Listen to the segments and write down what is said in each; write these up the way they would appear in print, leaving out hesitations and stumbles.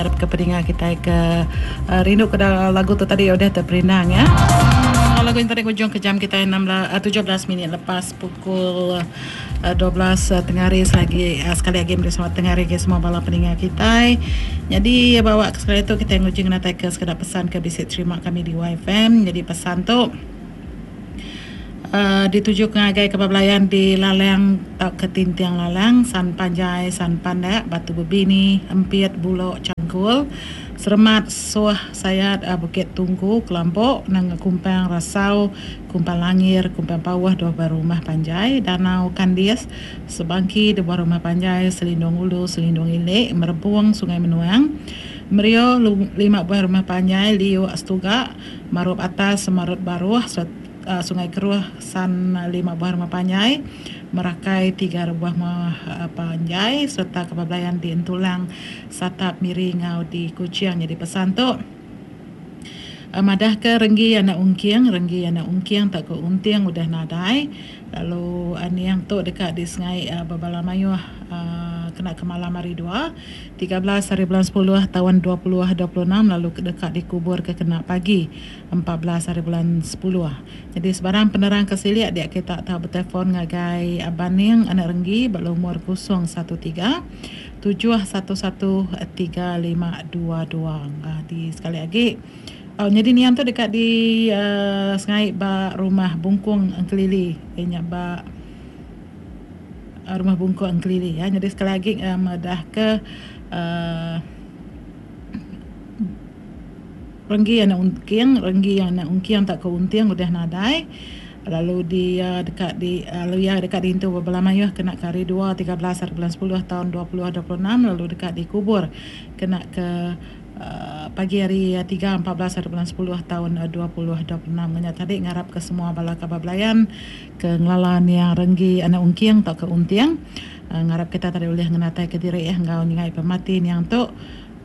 Arap ke peninga kitai ke rindu ke lagu tu tadi udah teperindang ya. Lagu nya tadi ngujung ke jam kitai 16 17 minit lepas pukul 12 tengah hari selagi sekali agi meri selamat tengah hari ngagai semua bala peninga kitai. Nyadi bawa ke sekali tu kitai nguji ngenatai ke sekeda pesan ke bisi terima kami di YFM. Nyadi pesan tu Dituju ke ngagai kaban belayan di Lalang tauka Tinting Lalang, San Panjai, San Pandak, Batu Bebini, Empit, Bulok, Changkul, Seremat, Soh, Sayat, Bukit Tungku, Kelampok, Nanga Kumpang, Rasau, Kumpang Langir, Kumpang Pauh, Dua Buah Rumah Panjai, Danau Kandis, Sebangki, Dua Buah Rumah Panjai, Selindung Ulu, Selindung Ili, Merebung, Sungai Menuang, Merio, Lima Buah Rumah Panjai, Liuk, Setuga, Marup Atas, Semarut Baruh, Sungai Keruh, San Lima Buah Rumah Panjai, Merakai Tiga Rebuah Rumah Panjai sereta Kebal Belayan di Entulang, Satap, Miri enggau di Kuching. Nyadi pesan tu madahka Renggi anak Ungking, Renggi anak Ungking tauka Unting udah nadai lalu niang tu deka disengai bebala mayuh kena ke malam hari dua. 13 hari bulan sepuluh taun 2026 lalu deka dikuburka kena pagi 14 hari bulan sepuluh. Nyadi sebarang penerang ke silik dia kita tau betelefon ngagai Baning anak Renggi ba lumur 013 711 3522. Di sekali agi nyadi niang tu deka di sengai ba Rumah Bungkung Engkelili iya nya ba Rumah Bungkuk Engkelili ya. Nyadi sekali agi madah ke uhh Renggi anak Ungking, Renggi anak Ungking tauka Unting udah nadai lalu dia deka di lalu iya deka diintu bebala mayuh kena ke hari dua 13 hari bulan 10 taun 2026 lalu deka dikubur kena ke Pagi hari tiga 14 hari bulan 10 taun 2026 nya tadi ngarap ke semua bala kaban belayan ke ngelala niang Renggi anak Ungking tauka Unting ngarap kita tadi ulih ngenatai ke diri enggau nyingai pemati niang tu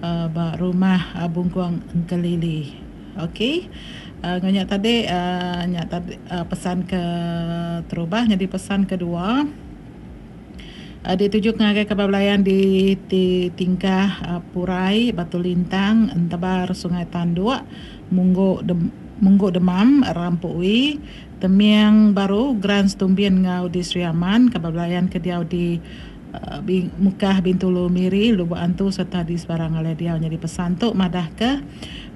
ba rumah Bungkung Engkelili. Ok enggau nya tadi nya tadi pesan ke terubah nyadi pesan kedua. Dituju ngagai kaban belayan di ti Tingkah Purai, Batu Lintang, Entebar Sungai Tanduk, Munggu Munggu Demam, Rampu Wi, Temiang Baru, Gran Setumbin enggau di Sri Aman, kaban belayan ke diau di Mukah, Bintulu, Miri, Lubok Antu sereta di sebarang alai diau nyadi pesan tu madahka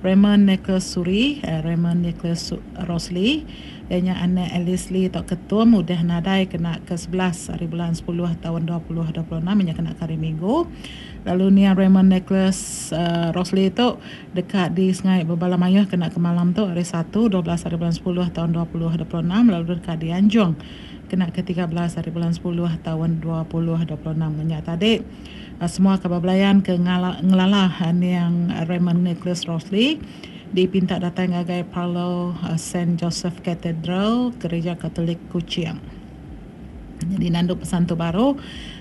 Raymond Nicholas Suri, Raymond Nicholas Rosli. Iya nya anak Alice Lee tauka Tom udah nadai kena ke 11 ari bulan 10 taun 2026 iya nya kena ke hari Minggu. Lalu niang Raymond Nicholas Rosli tu deka disengai bebala mayuh kena ke malam tu hari Satu 12 ari bulan 10 taun 2026 lalu deka dianjung kena ke 13 ari bulan 10 taun 2026. Nya tadi semua kaban belayan ke ngelala niang Raymond Nicholas Rosli. Dipinta datai ngagai Parlour Saint Joseph Cathedral, Gereja Katolik Kuching. Nyadi nandu pesan tu baru,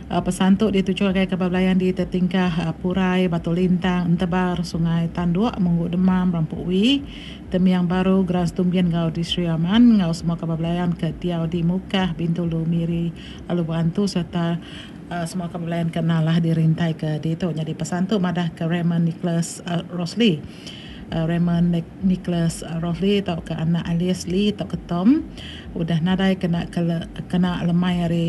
pesan tu dituju ngagai kaban belayan di Tetingkah Purai, Batu Lintang, Entebar, Sungai Tanduk, Munggu Demam, Rampuk Wi, Temiang Baru, Gran Setumbin enggau di Sri Aman enggau semua kaban belayan ke diau di Mukah, Bintulu, Miri lalu Berantu sereta semua kaban belayan ke nalah dirintai ke ditu. Nyadi pesan tu madah ke Raymond Nicholas Rosli. Raymond Nicholas Rosli tauka anak Alice Lee tauka Tom udah nadai kena kena lemai hari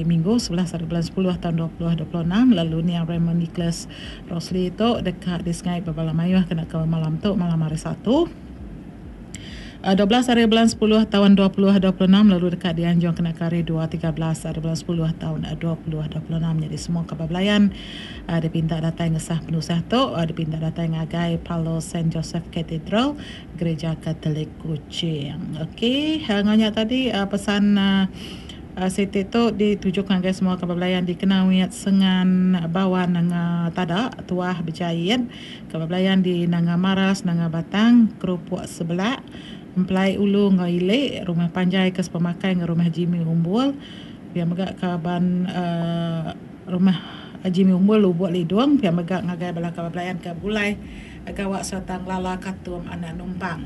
Minggu 11 hari bulan 10 taun 2026 lalu niang Raymond Nicholas Rosli tu deka disengai bebala mayuh kena ke malam tu malam hari Satu. 12 hari bulan 10 taun 2026 lalu deka dianjung kena ke hari 2 13 hari bulan 10 taun 2026 nyadi semua kaban belayan dipinta datai ngesah penusah tu dipinta datai ngagai Parlour Saint Joseph Cathedral Gereja Katolik Kuching. Okey enggau nya tadi pesan siti tu dituju ngagai semua kaban belayan di Kenawit Sengan Bawan Nanga Tada Tuah Bejait. Keba belayan di Nanga Maras, Nanga Batang, Kerupuk Sebelak, Empelai Ulu enggau Ili, Rumah Panjai ke Sepemakai enggau Rumah Jimmy Umbul, pia mega kaban uhh Rumah Jimmy Umbul Lubuk Lidung, pia mega ngagai bala kaban belayan ke begulai gawa sereta ngelala Katum Anak Numpang.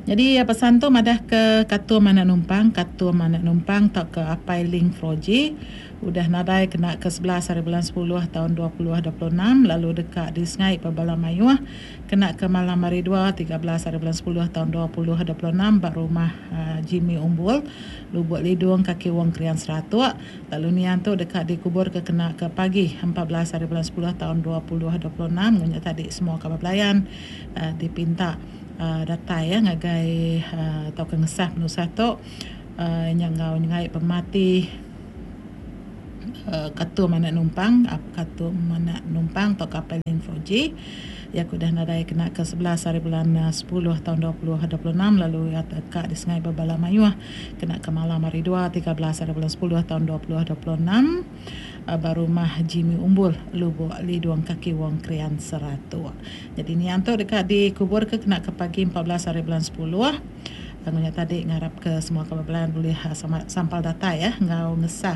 Nyadi pesan tu madah ke Katum Anak Numpang, Katum Anak Numpang tauka Apai Ling Froji udah nadai kena ke 11 hari bulan sepuluh taun 2026 lalu deka disengai pa bala mayuh kena ke malam hari dua, 13 hari bulan sepuluh taun 2026 ba rumah Jimmy Umbul, Lubuk Lidung, Kaki Wong Krian Seratok lalu niang tu deka dikuburka kena ke pagi 14 hari bulan sepuluh taun 2026 ngunya tadi semua kaban belayan dipinta. Datai iya ngagai tauka ngesah penusah tu nya enggau nyengai pemati Katum anak numpang Katum anak numpang tauka Apai Ling Foji iya ke udah nadai kena ke 11 hari bulan 10 taun 2026 lalu iya ka disengai bebala mayuh kena ke malam hari dua 13 hari bulan 10 taun 2026. Ba rumah Jimmy Umbul, Lubok Lidung Kaki Wong Krian Seratok. Nyadi niang tu deka dikuburka kena ke pagi 14 hari bulan 10. Lalu nya tadi ngarapka semua kaban belayan bulih sampal datai enggau ngesah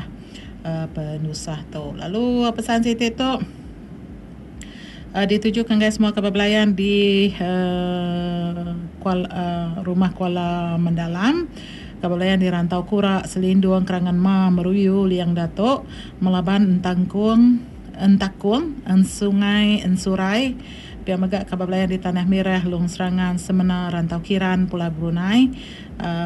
penusah tu. Lalu pesan siti tu ditujuka ngagai semua kaban belayan di Rumah Kuala Mendalam. Kaban belayan di Rantau Kura, Selindung, Kerangan Ma, Meruyu, Liang Dato, Melaban, Entangkung, Entakung, Ensungai, Ensurai, pia mega kaban belayan di Tanah Mirah, Long Serangan, Semena, Rantau Kiran, Pulau Brunei,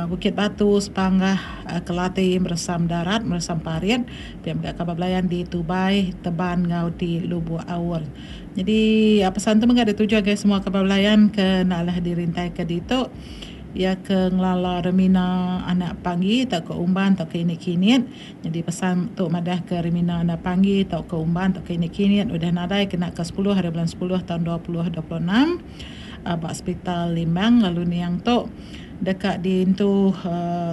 Bukit Batu, Sepanggah, Kelati, Meresam Darat, Meresam Parit, pia mega kaban belayan di Tubai, Teban enggau di Lubuk Aur. Nyadi pesan tu mega dituju ngagai semua kaban belayan ke enda alah dirintaika ditu. Iya ke ngelala Remina anak Panggi tauka Umban tauka Ini Kinit. Nyadi pesan tu madahka Remina anak Panggi tauka Umban tauka Ini Kinit udah nadai kena ke 10 hari bulan 10 taun 2026 ba Sepital Limbang lalu niang tu deka diintu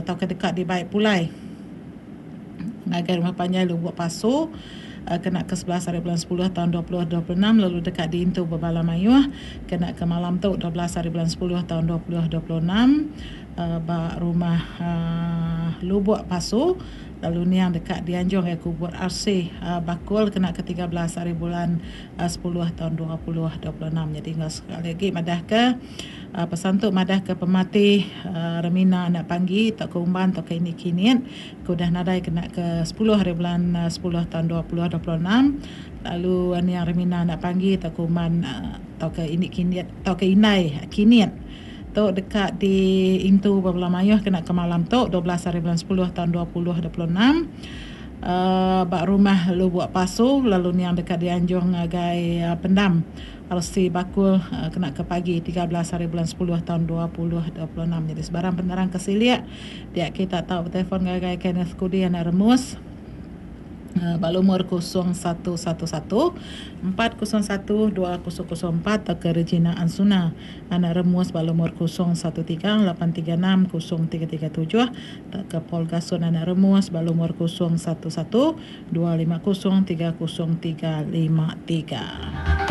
tauka deka dibai pulai ngagai Rumah Panjai Lubuk Pasu kena ke 11 hari bulan 10 taun 2026 lalu deka diintu bebala mayuh kena ke malam tu 12 hari bulan 10 taun 2026 ba Rumah Lubuk Pasu lalu niang deka dianjung ngagai Kubur RC Bakul kena ke 13 hari bulan 10 taun 2026. Nyadi enggau sekali agi madahka Pesan tu madahka pemati Remina anak Panggi tauka Umban tauka Ini Kinit ke udah nadai kena ke 10 hari bulan 10 taun 2026 lalu niang Remina anak Panggi tauka Umban tauka Ini Kinit tauka Indai Kinit tu deka diintu ba bala mayuh kena ke malam tu 12 hari bulan 10 taun 2026 ba Rumah Lubuk Pasu lalu niang deka dianjung ngagai pendam RC Bakul kena ke pagi 13 hari bulan 10 taun 2026. Nyadi sebarang penerang ke silik dia kita tau betelefon ngagai Kenneth Kudi anak Remus ba lumur 0111 401 2004 tauka Regina Ansuna anak Remus ba lumur 013 836 0337 tauka Paul Gasun anak Remus ba lumur 011 250 30353.